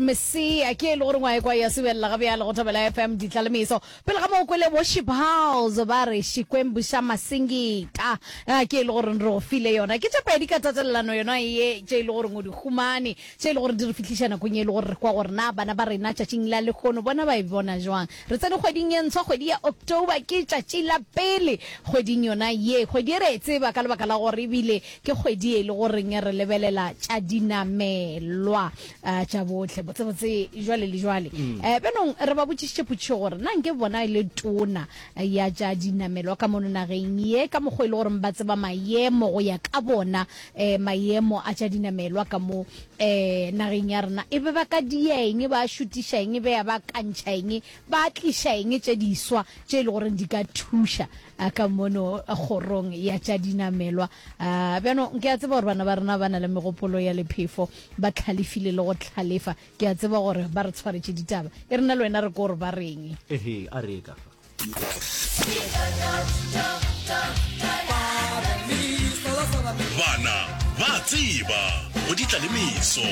Mesia ke e le gore ngwa ekwa ya subelela ga bjale go Thobela FM ditlalemeso. Pele ga mo kwele Worship House ba re Xikwembu xa Masingita ke e le gore re go file yona. Ke tše pedi ka tatelelano yona ye tše e le gore o di humane tše e le gore di re fihliša nakong ye e le gore re kwa gore na bana ba rena tšatšing la lehono bona ba e bona jwang. Re tsene kgweding ye ntshwa kgwedi ya October ke tšatši la pele kgweding yona ye. Kgwedi ye re e tseba ka lebaka la gore ebile ke kgwedi ye e le goreng re lebelela tša dinamelwa. A tša bohle, botsebotse jwale le jwale. Mm. Eh, bjanong re ba botšišitše potšišo gore na nke bona e le tona ya tša dinamelwa ka mono nageng ye ka mokgwa e le gore ba tseba maemo go ya ka bona eh, maemo a tša dinamelwa ka mo eh, nageng ya rena e be ba ka dia eng ba šutiša eng be ya ba kantšha eng ba tliša eng tše diswa tše e le goreng di ka thuša ka mono kgorong ya tša dinamelwa. Bjano ke a tseba gore bana ba rena ba na le megopolo ya lephefo, ba tlhalefile le go tlhalefa. Ke a tseba gore ba re tshwaretše ditaba. E re nna le wena re ko gore ba reng. Ehe, a re ye ka fa. Bana ba a tseba go di tla le meso.